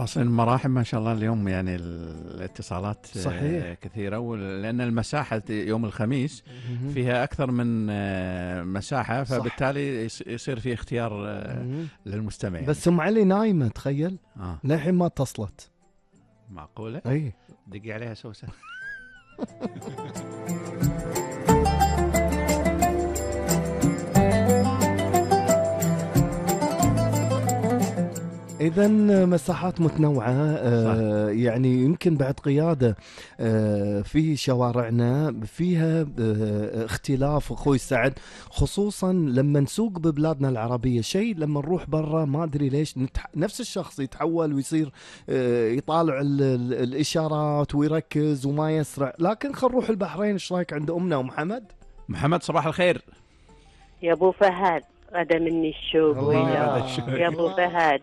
فاصل المراحل ما شاء الله اليوم يعني الاتصالات صحيح. كثيرة، لأن المساحة يوم الخميس فيها أكثر من مساحة، فبالتالي يصير في اختيار للمستمع. بس أم علي نايمة تخيل للحين ما اتصلت. معقولة؟ أي دقي عليها سوسة. إذن مساحات متنوعة يعني يمكن بعد قيادة في شوارعنا فيها اختلاف أخوي سعد، خصوصا لما نسوق ببلادنا العربية. شيء لما نروح برا ما أدري ليش نفس الشخص يتحول ويصير يطالع الإشارات ويركز وما يسرع. لكن خل نروح البحرين. إيش رأيك عند أمنا ومحمد؟ محمد صباح الخير يا أبو فهد، غدا مني الشوق يا أبو فهد،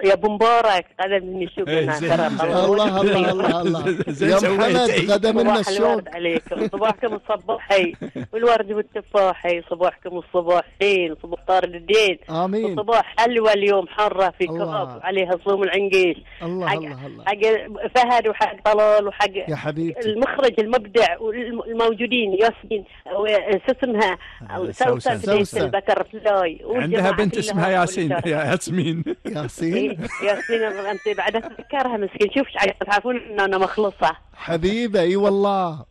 يا ابو مبارك غدا مني الشوق. الله الله الله الله يا محمد غدا منا الشوق عليكم. صباحكم الصباحي والورد والتفاحي، صباحكم الصباحين، صباح طارد الدين. امين. صباح حلوة اليوم حرة في كراب عليها صوم العنقيش. الله الله الله. حق فهد وحق طلال وحق يا حبيبتي المخرج المبدع والموجودين. ياسمين اسمها سوسن البكر فلاي، عندها بنت اسمها ياسمين. ياسين انت بعد اتذكرها مسكين. شوف تعرفون ان انا مخلصه حبيبه. اي والله.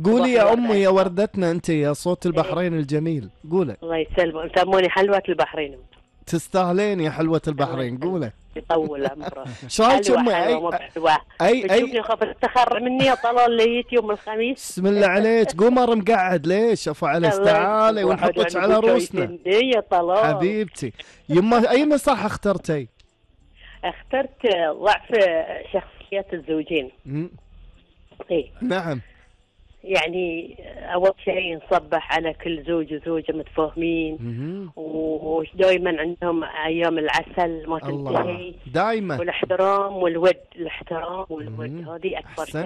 قولي يا امي يا وردتنا، انت يا صوت البحرين الجميل. قولي. الله يسلمك. سموني حلوة البحرين. تستاهلين يا حلوة البحرين. قولي. يطول عمره. شايف امي اي خاف تتخرع مني يا طلال ليت يوم الخميس. بسم الله عليك. قمر مقعد ليش؟ افو علي تعالي ونحطك على روسنا يا طلال حبيبتي. يما اي مساحه اخترتي؟ اخترت ضعف شخصيات الزوجين. اي نعم. يعني أول شيء نصبح على كل زوج وزوجة متفاهمين ودائما عندهم أيام العسل ما تنتهي دائما، والاحترام والود. الاحترام والود هذه أكبر شيء.